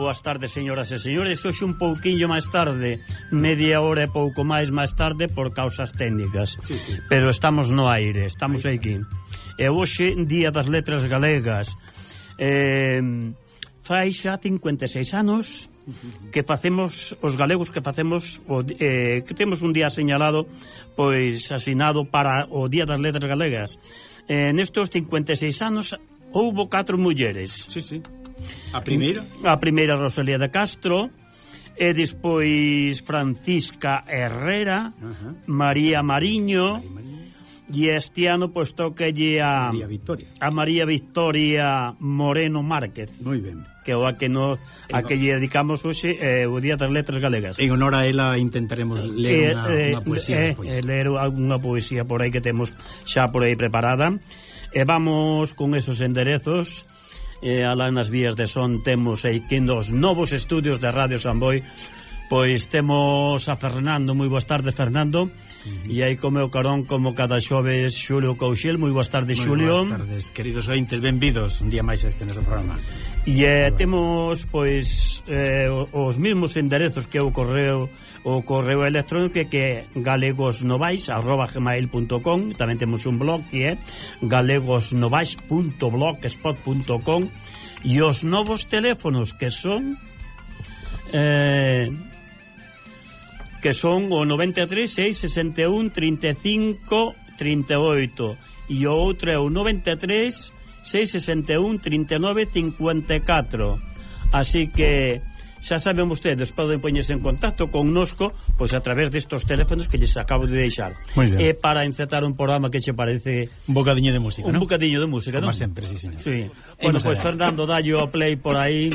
boas tardes, señoras e señores. Hoxe un pouquiño máis tarde, media hora e pouco máis tarde por causas técnicas. Sí. Pero estamos no aire, estamos aquí. E hoxe, Día das Letras Galegas. Fai xa 56 anos que facemos, os galegos que facemos que temos un día señalado, pois asinado para o Día das Letras Galegas. Nestos 56 anos houbo 4 mulleres. Sí. A primeira? A primeira, Rosalía de Castro, e despois Francisca Herrera, María Mariño, e este ano pois tocalle a María Victoria Moreno Márquez. Moi ben. Que é a que lle dedicamos hoxe o Día das Letras Galegas. En honor a ela intentaremos ler unha poesía despois. Ler algunha poesía por aí que temos xa por aí preparada. E vamos con esos enderezos. Alá nas vías de son temos aquí nos novos estudios de Radio Samboy, pois temos a Fernando. Moi boas tardes, Fernando. E aí co meu carón, como cada xoves, Xulio Couchel. Moi boas tardes, Xulio. Moi boas tardes, queridos ointes, benvidos un día máis a este noso programa. E temos pois os mesmos enderezos que o correo electrónico, que é galegosnovais@gmail.com. Tamén temos un blog que é galegosnovais.blogspot.com. E os novos teléfonos que son o 93 661 35 38 e o outro é o 93 661 39 54. Así que xa saben vostedes, poden poñerse en contacto connosco pois a través destos teléfonos que lles acabo de deixar. E para encetar un programa, que che parece? Un bocadiño de música, un bocadiño de música, como non? sempre, sí, señor. Sí. Bueno, pois Fernando, dalle o play por aí.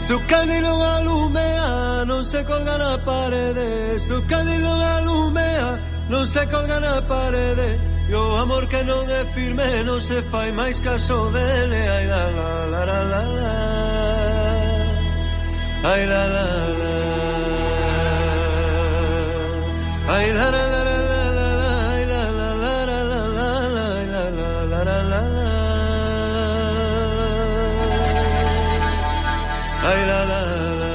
Su candilo alumea, non se colga na parede. Su candilo alumea, non se colga na parede. E o amor que non é firme non se fai máis caso dele. Ai la la la la la la. ay la la la, ay la la la la la la, ay la la la la la la, ay la la la la la la, ay la la la.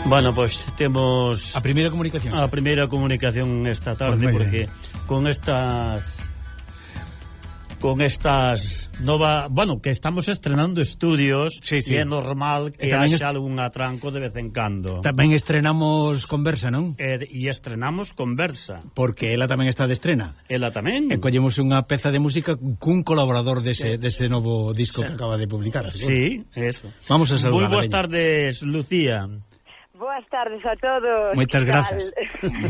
Bueno, pues temos a primeira comunicación. A primeira comunicación esta tarde, pues porque con estas bueno, que estamos estrenando estudios, sí. E é normal que haxa algún atranco de vez en cando. Tamén estrenamos Conversa, non? E estrenamos Conversa. Porque ela tamén está de estrena. Ela tamén. E collemos unha peza de música cun colaborador dese novo disco que acaba de publicar. Sí, eso. Vamos a saludar. Moi boas tardes, Lucía. Boas tardes a todos. Moitas grazas.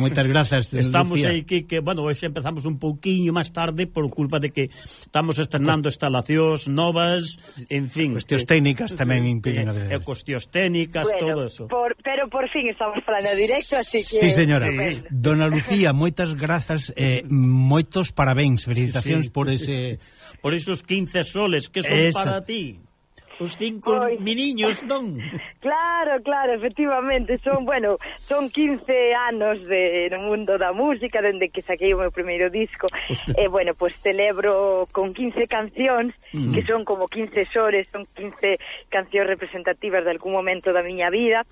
Moitas grazas, estamos Lucía. aí que bueno, hoxe empezamos un pouquiño máis tarde por culpa de que estamos estrenando instalacións novas, en fin. Cuestións técnicas tamén impiden cuestións técnicas, todo eso. Pero por fin estamos falando directo, así que... Sí, señora. Sí. Dona Lucía, moitas grazas, moitos parabéns, felicitacións por ese... Por esos 15 soles que son para ti. Os 5 miniños, non? Claro, efectivamente, son 15 anos no mundo da música, dende que saquei o meu primeiro disco, e bueno, pues celebro con 15 cancións, que son como 15 sores, son 15 cancións representativas de algún momento da miña vida.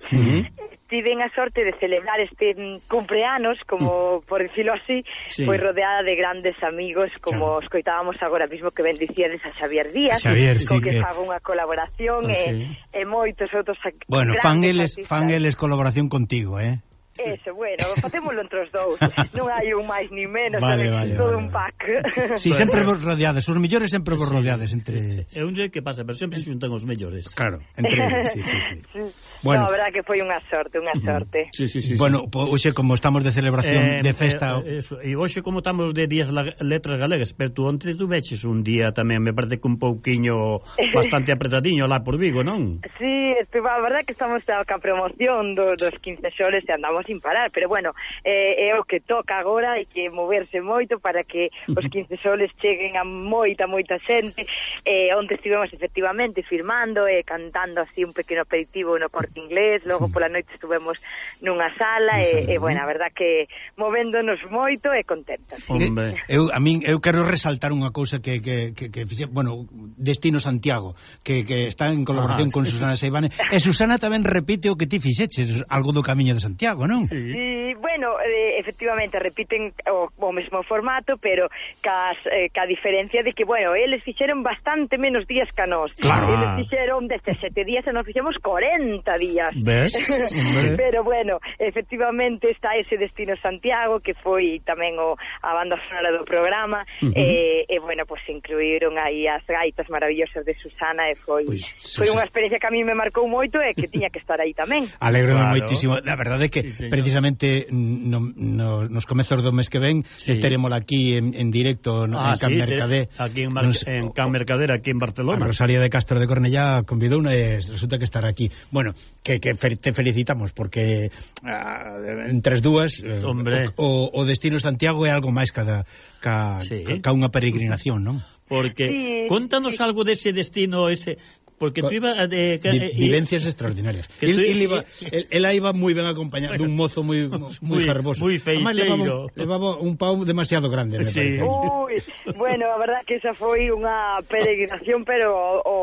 Tiven a sorte de celebrar este cumpleanos, como por decirlo así, pois rodeada de grandes amigos, como escoitábamos agora mismo que bendicíades a Xavier Díaz, con que fago unha colaboración e moitos outros. Bueno, fan eles colaboración contigo, Eso, bueno, facémoslo entre os dous. Non hai un máis ni menos, vale, todo un pack. Si, sempre vos rodeades, os mellores sempre vos rodeades entre... É un que pasa, pero sempre se xuntan os mellores. Claro, entre eles, sí. Bueno, a verdad que foi unha sorte. Sí. Bueno, hoxe como estamos de celebración de festa... E hoxe como estamos de días letras galegas, pero tú onte veches un día tamén, me parece que un pouquiño bastante apretadiño lá por Vigo, non? Sí, a verdad que estamos ca promoción dos 15 xoles e andamos sin parar, pero bueno, é o que toca agora, hai que moverse moito para que os 15 soles cheguen a moita xente. Onde estivemos efectivamente firmando e cantando así un pequeno aperitivo no Corte Inglés, logo pola noite estuvemos nunha sala e bueno, a verdad que movéndonos moito e contentas. Eu quero resaltar unha cousa que bueno, Destino Santiago, que está en colaboración con Susana Seivane, e Susana tamén repite o que ti fixeches, algo do Camiño de Santiago, non? Sí, bueno, efectivamente repiten o mesmo formato, pero ca diferencia de que, bueno, eles fixeron bastante menos días que a nós. Claro. Eles fixeron 17 días e nós fixemos 40 días. ¿Ves? Pero bueno, efectivamente está ese Destino Santiago, que foi tamén a banda sonora do programa, e bueno, pues incluíron aí as gaitas maravillosas de Susana, e foi unha experiencia que a mí me marcou moito e que tiña que estar aí tamén. Alegro moitísimo. La verdade é que precisamente nos comezos do mes que ven teremos aquí en directo en Can Mercader, aquí en Can Mercader, aquí en Barcelona. A Rosalía de Castro de Cornellá convidou e resulta que estará aquí. Bueno, que te felicitamos porque entre as dúas o Destino Santiago é algo máis ca unha peregrinación, non? Porque contanos algo dese destino porque tú ibas vivencias extraordinarias. Ela iba moi ben acompañada dun mozo moi garboso. Moi feiteiro. Levaba un pau demasiado grande, me parece. Bueno, a verdad que esa foi unha peregrinación, pero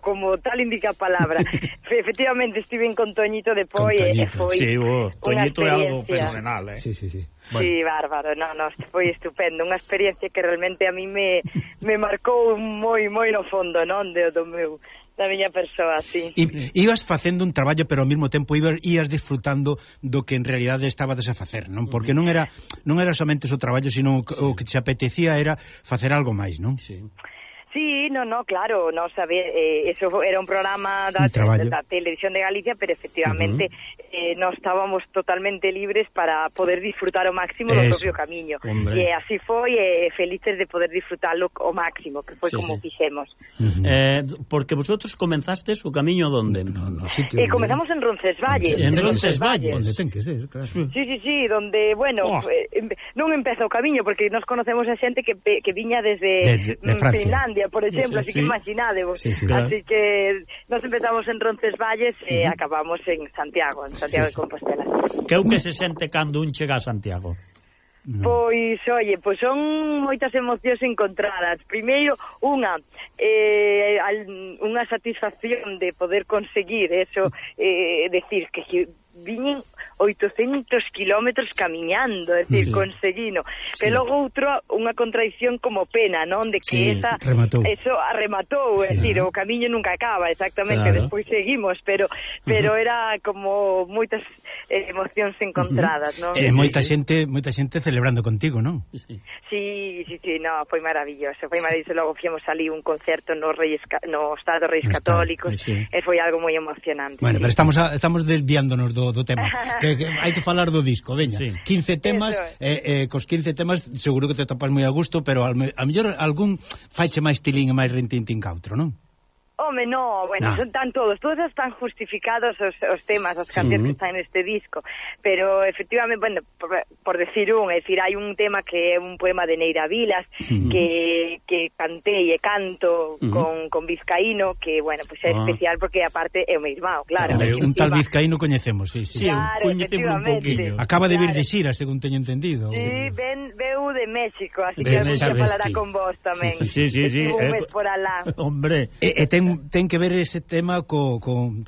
como tal indica a palabra. Efectivamente estiven con Toñito de Poi e foi Toñito é algo fenomenal, Sí. Bueno. Sí, bárbaro, foi estupendo, unha experiencia que realmente a mí me marcou moi no fondo, non, da miña persoa, sí. Ibas facendo un traballo, pero ao mesmo tempo ibas disfrutando do que en realidade estabades a facer, non? Porque non era somente o traballo, sino o que te apetecía era facer algo máis, non? Sí, claro, eso era un programa da Televisión de Galicia, pero efectivamente nós estábamos totalmente libres para poder disfrutar ao máximo do propio camiño. E así foi, felices de poder disfrutarlo ao máximo, que foi como fixemos. Porque vosotros comenzastes o camiño onde? Comenzamos en Roncesvalles. En Roncesvalles. Onde ten que ser, claro. Sí, donde, bueno, non empeza o camiño, porque nos conocemos a xente que viña desde Finlandia, por exemplo, así que imaginadevos. Así que nos empezamos en Roncesvalles e acabamos en Santiago de Compostela. Que é o que se sente cando un chega a Santiago? Pois, son moitas emocións encontradas. Primeiro, unha satisfacción de poder conseguir eso, decir que viñen 800 kilómetros camiñando, é dicir, conseguino. Pero logo outro, unha contradición como pena, non? De que eso arrematou, é dicir, o camiño nunca acaba, exactamente, despois seguimos, pero era como moitas emocións encontradas, non? Moita xente celebrando contigo, non? Sí, no, foi maravilloso, logo fomos ali un concerto no Estado Reis Católicos, e foi algo moi emocionante. Bueno, pero estamos desviándonos do tema. Que hai que falar do disco, veña. 15 temas, cos 15 temas seguro que te topas moi a gusto, pero a mellor algún faiche máis tilín e máis rintintín que outro, non? Home, no, bueno, son tan todos están justificados os temas, as cancións que están neste disco, pero efectivamente, bueno, por decir hai un tema que é un poema de Neira Vilas que cantei e canto con Vizcaíno, que, bueno, pues é especial porque aparte é o meu irmão, claro. Un tal Vizcaíno coñecemos, sí. Claro, efectivamente. Acaba de vir de xira, según teño entendido. Sí, veu de México, así que algún día falará con vos tamén. Sí. Un mes por alá. Hombre. Ten que ver ese tema co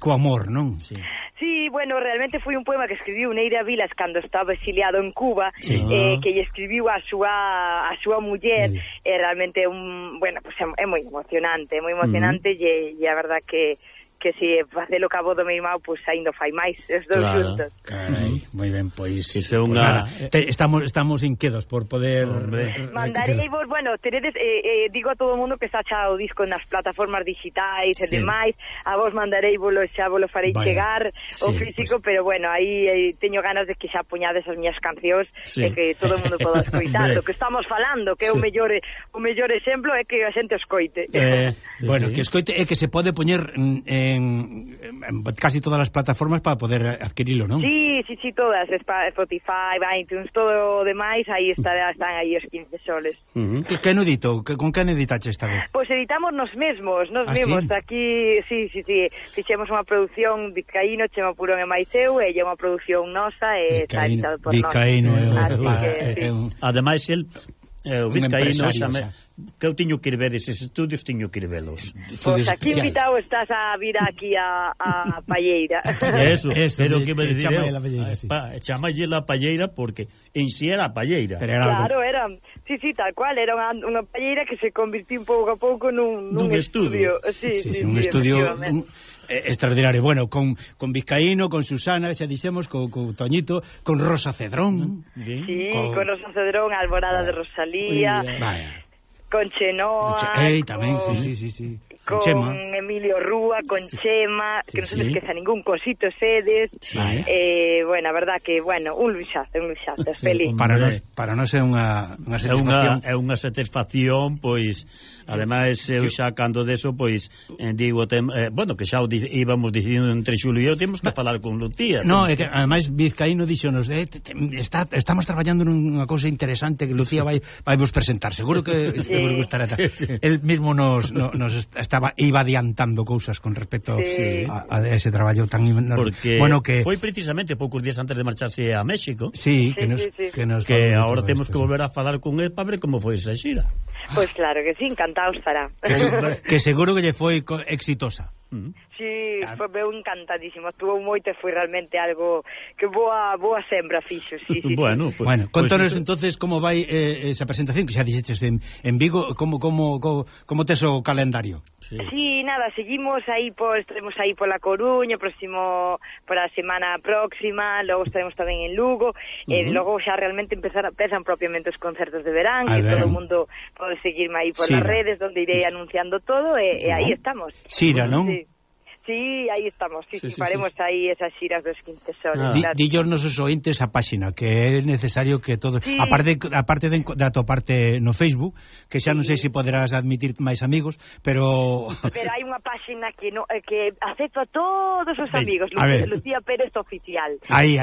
amor, non? Sí, bueno, realmente foi un poema que escribiu Neira Vilas cando estaba exiliado en Cuba, que lle escribiu a súa muller, e realmente é moi emocionante, e a verdad que se facelo cabo do meu irmão, pois ainda fai máis os dous juntos. Carai, moi ben, pois estamos inquedos por poder mandareivos, bueno, teredes digo a todo o mundo que está xa o disco nas plataformas digitais e demais, a vos mandareivolo, xa vos lo farei chegar o físico, pero bueno, aí teño ganas de que xa poñades as miñas cancións e que todo o mundo poda escoitar o que estamos falando, que é o mellor exemplo é que a xente escoite. Bueno, que escoite é que se pode poñer en casi todas as plataformas para poder adquirilo, non? Sí, todas, Spotify, iTunes, todo o demais, aí están aí os 15 soles. Que edito? Con que editache esta vez? Pois editamos nos mesmos, aquí, sí, fixemos unha produción Vizcaíno, Chema Purón e máis eu, e é unha produción nosa e está editado por nós. Vizcaíno ademais, el o Vizcaíno que eu tiño que ir ver eses estudios, tiño que ir velos. Pois aquí invitado estás a vir aquí a Palleira. Eso, pero que me dicir chamalle la Palleira porque en si era a Palleira. Claro, era, sí, tal cual, era unha Palleira que se convirtió un pouco a pouco nun estudio. Sí, un estudio extraordinario. Bueno, con Vizcaíno, con Susana, xa dixemos, con Toñito, con Rosa Cedrón. Sí, con Rosa Cedrón, Alborada de Rosalía. Con Chenoa, tamén, sí. Con Emilio Rúa, con Chema, que non se me esqueza ningún, con Sito Sedes, bueno, a verdad que, un luxazo, feliz. Para nós é unha satisfacción. É unha satisfacción, pois, ademais, eu xa cando deso, pois, digo, que xa íbamos dicindo entre Xulio e eu, temos que falar con Lucía. No, é que, ademais, Vizcaíno dixonos, estamos traballando nunha cousa interesante que Lucía vai vos presentar, seguro que vos gustará. El mismo nos iba adiantando cousas con respecto a ese traballo tan porque bueno que foi precisamente poucos días antes de marcharse a México. Que agora temos que volver a falar con el para ver como foi esa xira. Pois claro que sí, encantado estará. Que seguro que lle foi exitosa. Sí, foi encantadísimo, estuvo moito e foi realmente algo que boa sembra fixo, sí. Bueno, contanos entonces como vai esa presentación que xa dixeches en Vigo, como tes o calendario? Sí, nada, seguimos aí, estaremos aí pola Coruña, para a semana próxima, logo estaremos tamén en Lugo, e logo xa realmente empezan propiamente os concertos de verán, que todo o mundo pode seguirme aí polas redes, onde irei anunciando todo, e aí estamos. Xira, non? Sí, aí estamos, sí, faremos aí esas xiras dos 15 soles. Dillos nosos ointes a páxina, que é necesario que todos, aparte de atoparte no Facebook, que xa non sei se poderás admitir máis amigos, pero hai unha páxina que acepto a todos os amigos, Lucía Pérez Oficial. Aí.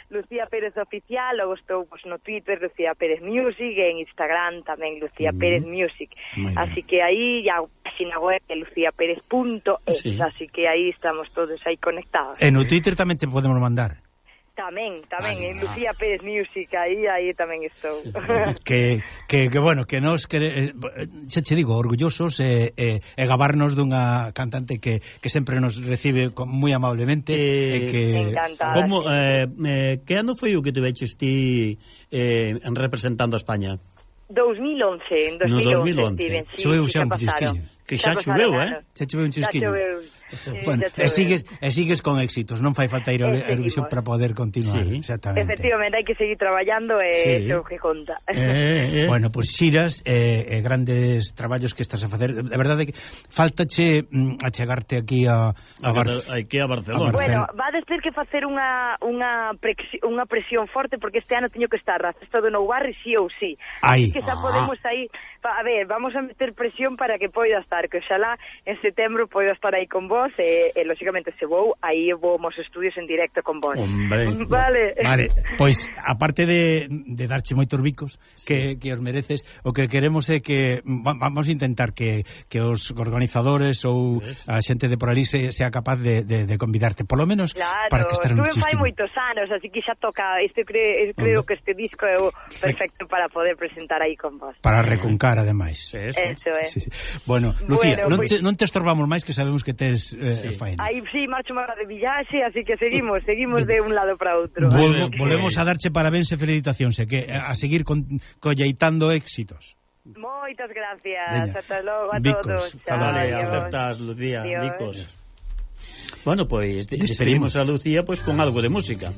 Lucía Pérez Oficial, logo estou no Twitter, Lucía Pérez Music, e en Instagram tamén Lucía Pérez Music. Así que aí a páxina web é luciaperez.es, así que aí estamos todos aí conectados. E no Twitter tamén te podemos mandar. Tamén, en Lucía Pérez Music, aí tamén estou. Que bueno, que nos xa che digo, orgullosos e gabarnos dunha cantante que sempre nos recibe moi amablemente e que encantada. Como que ano foi o que te veches ti representando a España? 2011, en 2011 Steven, choveu xa un chisquiño. Que xa choveu, Xa choveu un chisquiño. Bueno, e sigues con éxitos, non fai falta ir a Eurovisión para poder continuar. Exactamente. Efectivamente, hai que seguir traballando e iso que conta. Bueno, pois xiras e grandes traballos que estás a facer. De verdade que faltache achegarte aquí a Barcelona. Bueno, vades ter que facer unha presión forte, porque este ano teño que estar a Festa do Nou Barri sí ou sí. Aí. Que xa podemos aí, a ver, vamos a meter presión para que poida estar, que oxalá en setembro poida estar aí con vos e lógicamente se vou, aí vou aos estudios en directo con vos. Hombre. Vale, pois aparte de darche moitos bicos que os mereces, o que queremos é que vamos a intentar que os organizadores ou a xente de por ali sea capaz de convidarte, polo menos para que estar en un chistín. Fai moitos anos, así que xa toca, creo que este disco é o perfecto para poder presentar aí con vos. Para recuncar, ademais. Eso é. Bueno, Lucía, non te estorbamos máis, que sabemos que tes faena. Aí marcho máis de villaxe, así que seguimos de un lado para outro. Volvemos a darche parabéns e felicitacións, que a seguir colleitando éxitos. Moitas gracias. Hasta logo a todos. Vale, acertas, Lucía, bicos. Bueno, pois despedimos a Lucía con algo de música.